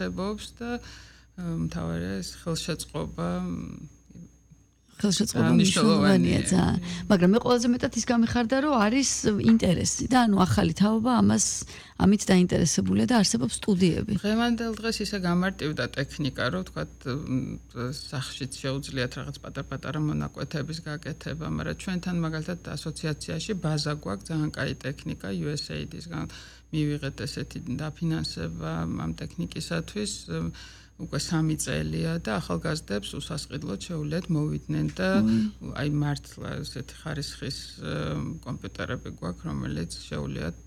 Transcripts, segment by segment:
ხდებობს და მთავარია ეს ხელშეწყობა მნიშვნელოვანია ძალიან. მაგრამ მე ყველაზე მეტად ის გამიხარდა, რომ არის ინტერესი და ანუ ახალი თაობა ამით დაინტერესებულია და არსებობს სტუდიები. დღევანდელ დღეს ისე გამარტივდა ტექნიკა, რომ თქვათ სახშიც შეუძლიათ რაღაც პატარ-პატარა მონაკვეთების გაკეთება, მაგრამ ჩვენთან მაგალითად ასოციაციაში ბაზა გვაქვს ძალიან კაი ტექნიკა USAID-ისგან მივიღეთ ესეთი დაფინანსება ამ ტექნიკისათვის. უკვე 3 წელია და ახალგაზრდებს უსასყიდლოდ შეუძლიათ მოვიდნენ და აი მართლა ესეთი ხარისხის კომპიუტერები გვაქვს, რომელიც შეუძლიათ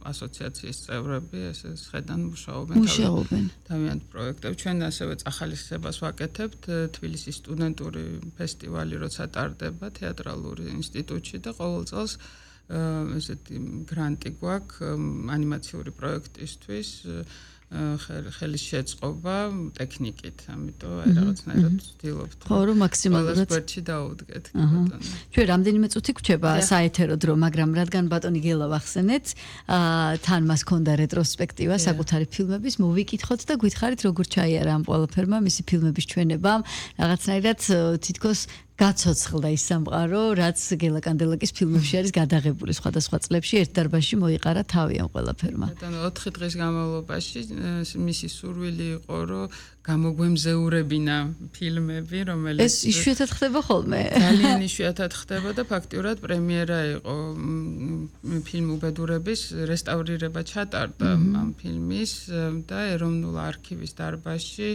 ასოციაციის წევრები ესე შედან მუშაობენ თავიანთ პროექტებში. ჩვენ ასევე წახალისებას ვაკეთებთ თბილისის სტუდენტური ფესტივალი როცა ტარდება თეატრალური ინსტიტუტში და ყოველ წელს ესეთი გრანტი გვაქვს ანიმაციური პროექტისთვის ხელის შეწყობა ტექნიკით, ამიტომ აი რაღაცნაირად ვცდილობთ. ხო, რომ მაქსიმალურად სპორტში დაუდგეთ. ჩვენ რამდენიმე წუთი გვჭება საეთერო დრო, მაგრამ რადგან ბატონი გელა ვახსენეთ, თან მას ჰქონდა რეტროსპექტივა საკუთარი ფილმების, მოვიკითხოთ და გითხარით როგორ ჩაიარა ამ ყველაფერმა მისი ფილმების ჩვენებამ, რაღაცნაირად თითქოს გაცოცხლდა ის სამყარო, რაც გელა კანდელაკის ფილმებში არის გადაღებული სხვადასხვა წლებში ერთ დარბაზში მოიყარა თავი ამ ყველაფერმა. ბატონო 4 დღის განმავლობაში მისი სურვილი იყო, რომ გამოგვემზეურებინა ფილმები, რომელიც ეს იშვიათად ხდება ხოლმე. ძალიან იშვიათად ხდება და ფაქტიურად პრემიერა იყო ფილმ უბედურების რესტავრირება ჩატარდა ამ ფილმის და ეროვნულ არქივის დარბაზში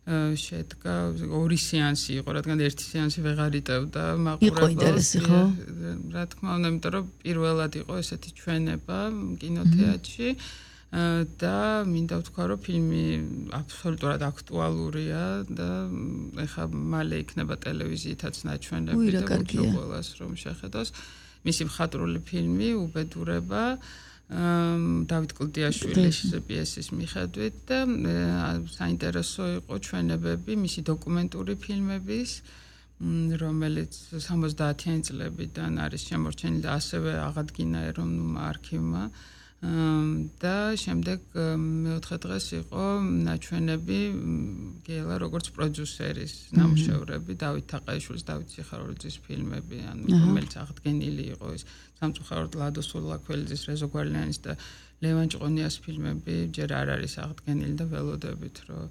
შედგა 2 სეანსი იყო, რადგან 1 სეანსი ვეღარ იტევდა მაყურებელს. რა თქმა უნდა, იმიტომ რომ პირველად იყო ესეთი ჩვენება კინოთეატრში და მინდა ვთქვა, რომ ფილმი აბსოლუტურად აქტუალურია და ეხლა მალე იქნება ტელევიზიითაც ნაჩვენები და ვუწევ ყველას რომ შეხედოს. მისი მხატვრული ფილმი უბედურება დავით კლდიაშვილის პიესის მიხედვით და საინტერესო იყო ჩვენებები მისი დოკუმენტური ფილმების, რომელიც 70-იანი წლებიდან არის შემორჩენილი და ასევე აღადგინა ეროვნულმა არქივმა და შემდეგ მეოთხე დღეს იყო ნაჩვენები გელა როგორც პროდიუსერის ნამუშევრები დავით თაყაიშვილის დავით სიხარულიძის ფილმები, ანუ რომელიც აღდგენილი იყო ის სამწუხაროდ ლადო სულაქველიძის რეზო გვარლიანის და ლევან ჭყონიას ფილმები ჯერ არ არის აღდგენილი და ველოდებით რომ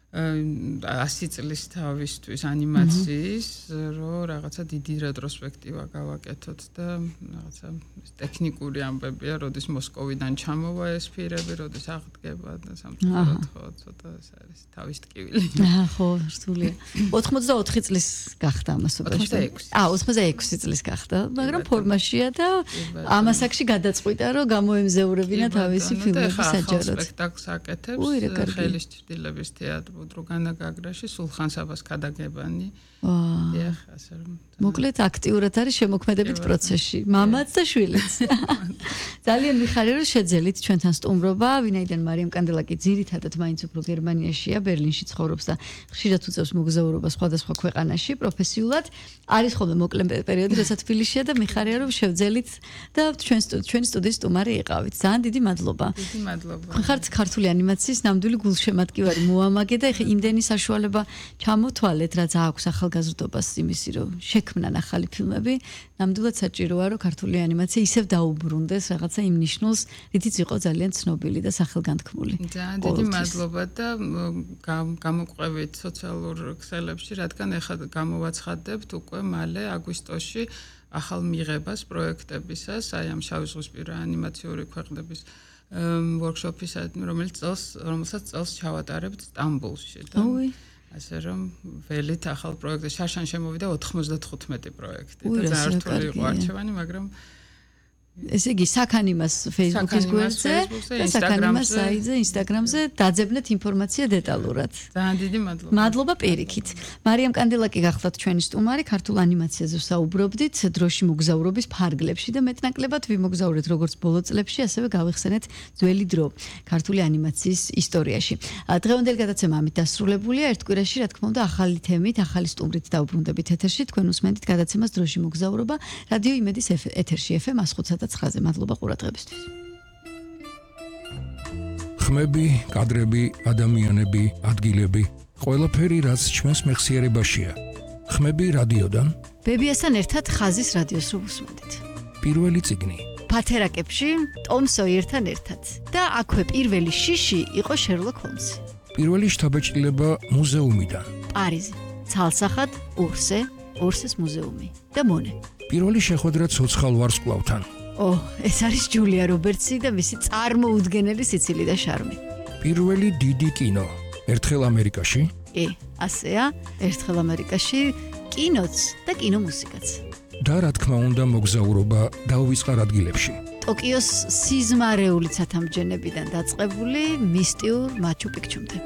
100 წლის თავისთვის ანიმაციის რომ რაღაცა დიდი რეტროსპექტივა გავაკეთოთ და რაღაცა ტექნიკური ამბებია, როდის მოსკოვიდან ჩამოვა ეს ფილმები, როდის აღდგება და სამწუხაროდ ხო ცოტა ეს არის თავის ტკივილი. ხო, რთულია. 84 წლის გახდა ამას 86. 86 წლის გახდა, მაგრამ ფორმაშია და ამასაკში გადაწყვიტა რომ გამოემზეურებინა თავისი ფილმები საჯაროდ. სპექტაკლს აკეთებს ხელის ჭრილების თეატრ დროგანა გაგრაში სულხან საბას ქადაგებანი. დიახ, ასე რომ მოკლედ აქტიურად არის შემოქმედებით პროცესში, მამაც და შვილიც. ძალიან მიხარია რომ შეძელით ჩვენთან სტუმრობა, ვინაიდან მარიამ კანდელაკი ძირითადად მაინც უფრო გერმანიაშია, ბერლინში ცხოვრობს და ხშირად უწევს მოგზაურობას სხვადასხვა ქვეყანაში პროფესიულად. არის ხოლმე მოკლე პერიოდი, როცა თბილისშია და მიხარია რომ შევძელით და ჩვენი სტუდიის სტუმარი იყავით. ძალიან დიდი მადლობა. დიდი მადლობა. ხართ ქართული ანიმაციის ნამდვილი გულშემატკივარი მოამაგე და ეხა იმდენი საშუალება ჩამოთვალეთ, რაც აქვს ახალგაზრდობას იმისი რომ შექმნან ახალი ფილმები, ნამდვილად საჭიროა რომ ქართული ანიმაცია ისევ დაუბრუნდეს რაღაცა იმ ნიშნულს, რითიც იყო ძალიან ცნობილი და სახელგანთქმული. ძალიან დიდი მადლობა და გამოყვებით სოციალურ ქსელებში, რადგან ეხლა გამოვაცხადებთ უკვე მალე აგვისტოში ახალ მიღებას პროექტებისას, აი ამ შავი ზღვისპირა ანიმაციური ქვეყნების workshop-ისა, რომელსაც წელს ჩავატარებთ სტამბოლში და ასე რომ ველით ახალ პროექტი შარშან შემოვიდა 95 პროექტი და ძალიან რთული იყო არჩევანი, მაგრამ ესე იგი საქანიმას Facebook-ის გვერდზე და საქანიმას საიტზე, Instagram-ზე დაძებნეთ ინფორმაცია დეტალურად. ძალიან დიდი მადლობა. მადლობა პირიქით. მარიამ კანდელაკი გახლავთ ჩვენი სტუმარი, ქართულ ანიმაციაზე ვსაუბრობდით დროში მოგზაურობის ფარგლებში და მეტნაკლებად ვიმოგზაურეთ როგორც ბოლო წლებში, ასევე გავიხსენეთ ძველი დრო ქართული ანიმაციის ისტორიაში. დღევანდელი გადაცემა ამით დასრულებულია. ერთ კვირაში, რა თქმა უნდა, ახალი თემით, ახალი სტუმრით დავუბრუნდებით ეთერში. თქვენ უსმენთ გადაცემას დროში მოგზაურობა რადიო იმედის ეთერში FM 105.9-ზე. მადლობა ყურადღებისთვის. ხმები, კადრები, ადამიანები, ადგილები, ყველაფერი რაც ჩვენს მეხსიერებაშია. ხმები რადიოდან, ბებიასთან ერთად ხაზის რადიოს რო უსმენდით. პირველი წიგნი. ფათერაკებში ტომ სოიერთან ერთად და აქვე პირველი შიში იყო შერლოკ ჰოლმსი. პირველი შთაბეჭდილება მუზეუმიდან. პარიზი, ცალსახად ორსეს მუზეუმი და მონე. პირველი შეხვედრა ცოცხალ ვარსკვლავთან. ეს არის ჯულია რობერტსი და მისი წარმოუდგენელი სიცილი და შარმი. პირველი დიდი კინო. ერთხელ ამერიკაში. ასეა, ერთხელ ამერიკაში კინოც და კინომუსიკაც. და რა თქმა უნდა მოგზაურობა დაუვიწყარ ადგილებში. ტოკიოს სიზმარეული ცათამბჯენებიდან დაწყებული მისტიურ მაჩუ-პიქჩუმდე.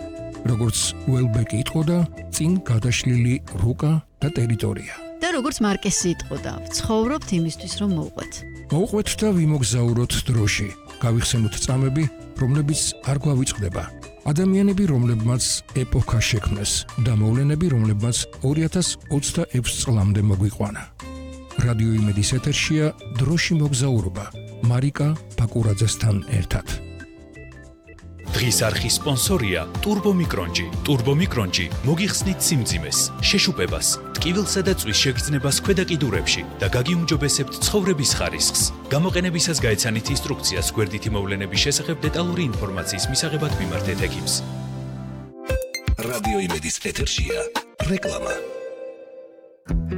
როგორც უელბეკი იტყოდა, წინ გადაშლილი რუკა და ტერიტორია. და როგორც მარკესი იტყოდა, ვცხოვრობთ იმისთვის, რომ მოვყვეთ. მოვყვეთ და ვიმოგზაუროთ დროში. გავიხსენოთ წამები, რომლებიც არ გვავიწყდება. ადამიანები, რომლებმაც ეპოქა შექმნეს და მოვლენები, რომლებმაც 2026 წლამდე მოგვიყვანა. რადიო იმედის ეთერშია დროში მოგზაურობა მარიკა ბაკურაძესთან ერთად. დღის არხის სპონსორია ტურბომიკრონჯი. ტურბომიკრონჯი მოგიხსნით სიმძიმეს, შეშუპებას, ტკივილსა და წვის შეგრძნებას ქვედა კიდურებში და გაგიუმჯობესებთ ცხოვრების ხარისხს. გამოყენებისას გაეცანით ინსტრუქციას გვერდითი მოვლენების შესახებ დეტალური ინფორმაციის მისაღებად მიმართეთ ექიმს. რადიო იმედის ეთერშია რეკლამა.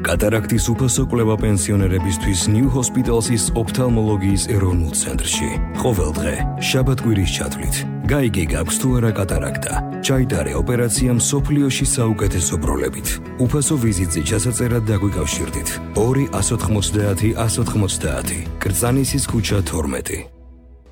კატარაქტის უფასო კვლევა პენსიონერებისთვის New Hospital's ოფთალმოლოგიის ეროვნულ ცენტრში. ყოველ დღე, შაბათ-კვირის ჩათვლით, გაიგე გაქვს თუ არა კატარაქტა. ჩაიტარე ოპერაცია მსოფლიოში საუკეთესო ბროლებით. უფასო ვიზიტზე ჩასაწერად დაგვიკავშირდით. 2-190-190, კრწანისის ქუჩა 12.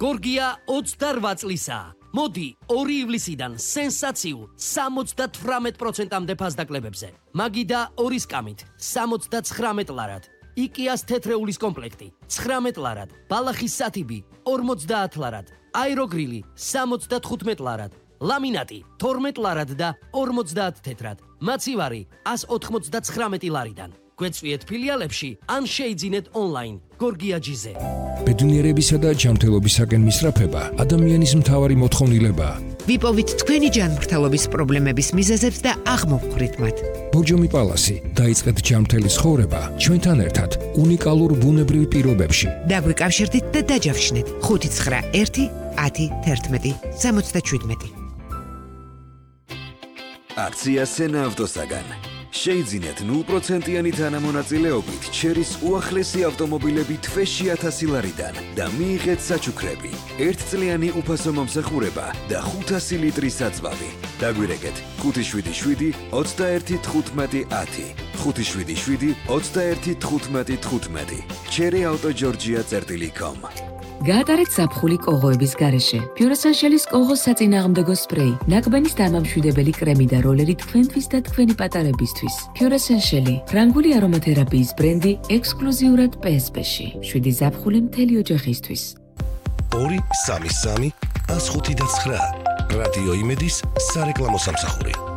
გორგია 28 წლისაა. მოდი 2 ივლისიდან სენსაციულ 78%-ამდე ფასდაკლებებზე. მაგიდა 2 სკამით 79 ლარად. იკიას თეთრეულის კომპლექტი 19 ლარად. ბალახის სათიბი 50 ლარად. აეროგრილი 75 ლარად. ლამინატი 12 ლარად და 50 თეთრად. მაცივარი 199 ლარიდან. გვეწვიეთ ფილიალებში ან შეიძინეთ ონლაინ გორგიაჯიზე. ბედნიერებისა და ჯანმრთელობისაკენ მისწრაფება ადამიანის მთავარი მოთხოვნილებაა. ვიპოვით თქვენი ჯანმრთელობის პრობლემების მიზეზებს და აღმოვხვრით მათ. ბორჯომი პალასი, დაიწყეთ ჯანმრთელი ცხოვრება ჩვენთან ერთად უნიკალურ ბუნებრივ პირობებში. დაგვიკავშირდით და დაჯავშნეთ 591 10 11 77. აქცია სენა ავტოსაგან. შეიძინეთ 0%-იანი თანამონაწილეობით ჩერის უახლესი ავტომობილები თვეში 1000 ლარიდან და მიიღეთ საჩუქრები, 1 წლიანი უფასო მომსახურება და 500 ლიტრი საწვავი. დაგვირეკეთ 577 21 15 10, 577 21 15 15. cherryautogeorgia.com. გაატარეთ ზაფხული კოღოების გარეშე. Pure-Essential-ის კოღოს საწინააღმდეგო სპრეი, ნაკბენის დამამშვიდებელი კრემი და როლერი თქვენთვის და თქვენი პატარებისთვის. Pure-Essential, ფრანგული არომათერაპიის ბრენდი ექსკლუზიურად PSP-ში. 7 ზაფხული მთელი ოჯახისთვის. 2-3-3-105-9 რადიო იმედის სარეკლამო სამსახური.